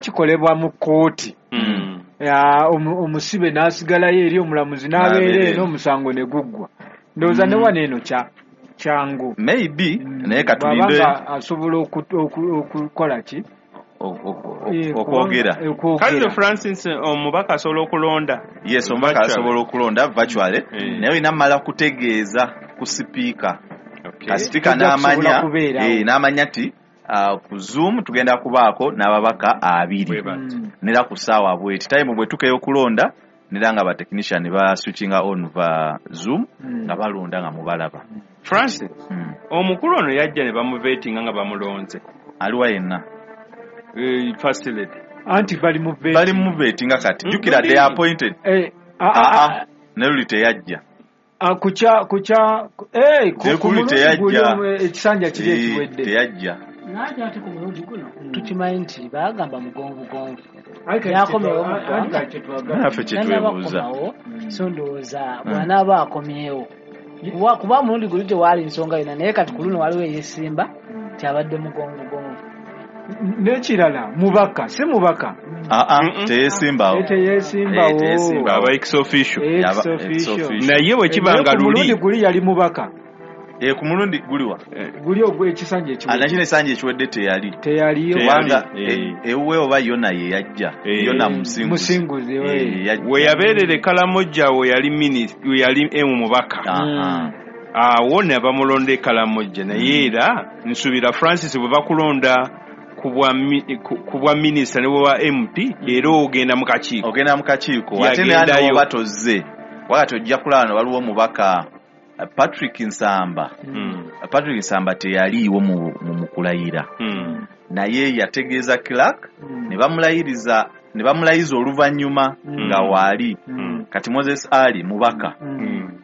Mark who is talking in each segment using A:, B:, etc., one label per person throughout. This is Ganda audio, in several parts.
A: Kikolebwa mu kkooti, omusibe n'asigalayo eri, omulamuzi n'abeera eno, omusango ne guggwa. Ndowooza ne wano eno kyangu.
B: Maybe, naye katulinde.
A: Bw'abanga asobola okukola ki?
B: Okwogera.
C: Kale Francis, omubaka asobola okulonda?
B: Yes, omubaka asobola okulonda virtually, naye olina mmala kutegeeza ku sipiika. Sipiika n'amanya nti ku Zoom tugenda kubaako n'ababaka 2 nera ku ssaawa bweti, time bwe tukeyo okulonda, nera nga ba technician ba switchinga on va Zoom nga balonda nga mubalaba.
C: Francis, omukulu ono yajja ne bamuvetinga nga bamulonze.
B: Aliwa yenna?
C: First lady.
A: Anti bali mu vetting.
B: Bali mu vetting kati. Jjukira they appointed. Ne luli teyajja.
A: Kucha
B: ku teyajja.
A: Ekisanja kiri ekiwedde.
B: Teyajja.
D: Naye ate ku mulundi guno tukimanyi nti baagamba mugonvugonvu. Yakomewo mu ggwanga.
B: Naffe kye twebuuza.
D: So ndowooza bw'anaaba akomyewo. Kuba mulundi guli tewaali nsonga yonna, naye kati ku luno waliwo eyeesimba kyabadde mugonvugonvu.
A: N'ekirala mubaka, si mubaka.
B: Teyeesimbawo.
A: Teyeesimbawo.
C: Aba ex officio. Naye bwe kiba nga luli.
A: Mulundi guli yali mubaka.
B: Ku mulundi guliwa?
A: Guli ogwo ekisanja ekiwedde.
B: Nakino ekisanja ekiwedde teyali.
A: Teyaliyo.
B: Kubanga ewuwe oba yonna ye yajja. Yonna Musinguzi.
C: We yabeerera e Kalamojja we yali minisita, we yali mubaka. Awo ne bamulonda e Kalamojja, naye era nsuubira Francis bwe bakulonda ku bwa minisita ne bwa MP era ogenda mu kakiiko.
B: Ogenda mu kakiiko. Ate naye oba tozze. Wakati ojja kulaba waliwo omubaka Patrick Nsamba. Patrick Nsamba teyaliiwo mu kulayira. Naye yategeeza clerk ne bamulayiriza, ne bamulayiza oluvannyuma nga waali. Kati Moses Ali mubaka.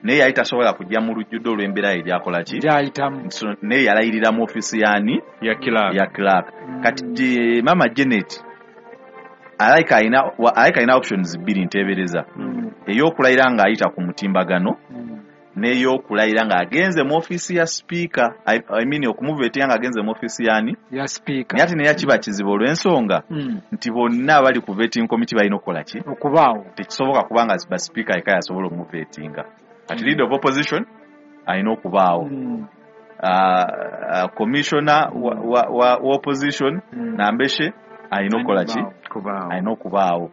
B: Naye yali tasobola kujja mu lujjudde olw'embeera ye gy'akola ki?
A: Gy'ayitamu.
B: Naye yalayirira mu ofiisi y'ani?
C: Ya clerk.
B: Ya clerk. Kati Mama Janet alayika alina options bbiri nteebereza. Ey'okulayira ng'ayita ku mutimbagano, n'ey'okulayira ng'agenze mu ofiisi ya sipiika, I mean okumuvetinga ng'agenze mu ofiisi y'ani?
A: Ya sipiika.
B: Naye ate naye kiba kizibu olw'ensonga nti bonna abali ku vetting committee balina okukola ki?
A: Okubaawo.
B: Tekisoboka kubanga ba sipiika yekka yasobola okumuvetinga. Kati leader of opposition alina okubaawo. Commissioner wa opposition Nambeshe alina okukola ki? Alina okubaawo.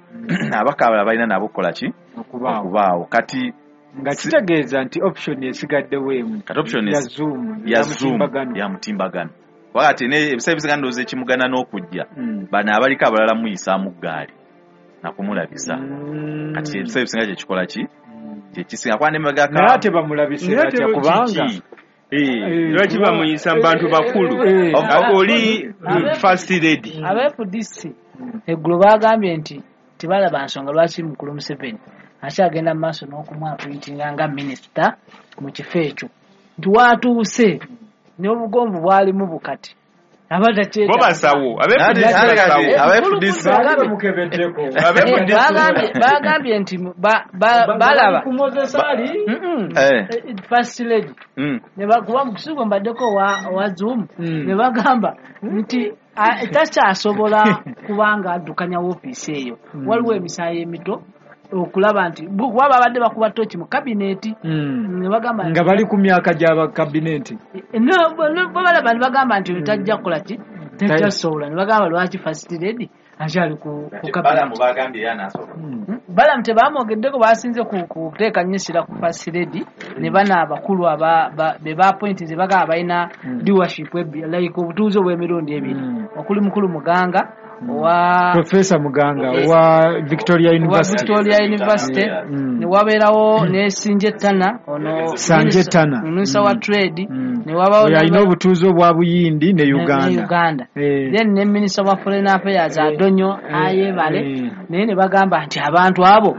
B: Ababaka abalala balina nabo okukola ki? Okubaawo. Kati
A: nga kitegeeza nti option esigaddewo emu.
B: Kati option
A: ya Zoom,
B: ya Zoom, ya mutimbagano. Wakati ne ebiseera ebisinga ndowooza ekimugana n'okujja, bano abaliko abalala muyisaamu ggaali nakumulabisa. Kati ebiseera ebisinga kye kikola ki? Kye kisinga kuba ne
A: naye ate bamulabise batya kubanga
C: lwaki bamuyisa mu bantu bakulu? Oli first lady.
D: Aba FDC eggulo baagambye nti tebalaba nsonga lwaki mukulu Museveni akyagenda mu maaso n'okumwapointinga nga minisita mu kifo ekyo, nti waatuuse n'obugonvu bwalimu bukati
C: bo basawo.
D: Bagambye nti balaba first lady kuba mukusigo mbaddeko wa Zoom ne bagamba nti takyasobola kubanga addukanya woofiisi eyo, waliwo emisaayi emito okulaba nti kuba babadde bakuba toki mu kabineeti ne bagamba
A: nga bali ku myaka gy'aba kabineeti
D: balaba ne bagamba nti tajja kukola ki, tajja kusobola, ne bagamba lwaki first lady akyali ku kabineeti. Balamu tebamwogeddeko, basinze kuteeka nnyo essira ku first lady ne bano abakulu be baappointinze bagamba balina leadership like obutuuze obw'emirundi ebiri okuli mukulu Muganga wa
A: Professor Muganga wa Victoria University,
D: Victoria University ne wabeerawo ne Sinje Tana ono
A: Sanje Tana
D: Minister wa Trade ne wabawo
A: alina obutuuze obwa Buyindi ne Uganda,
D: then ne Minister wa Foreign Affairs Adonyo Ayebale, naye ne bagamba nti abantu abo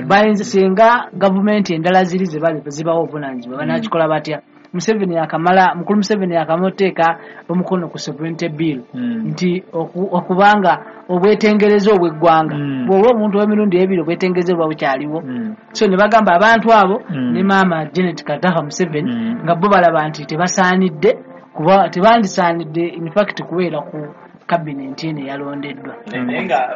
D: bayinza singa gavumenti endala ziri zibawo obuvunaanyizibwa banakikola batya. Museveni yakamala, mukulu Museveni yakamuteeka omukono ku sovereignty bill nti okubanga obwetengereza obw'eggwanga bw'oba omuntu w'emirundi ebiri obwetengereza buba bukyaliwo. So ne bagamba abantu abo ne maama Janet Kataha Museveni nga bo balaba nti tebasaanidde kuba tebandisaanidde in fact kubeera ku Kabinenti eno eyalondeddwa.
B: Naye nga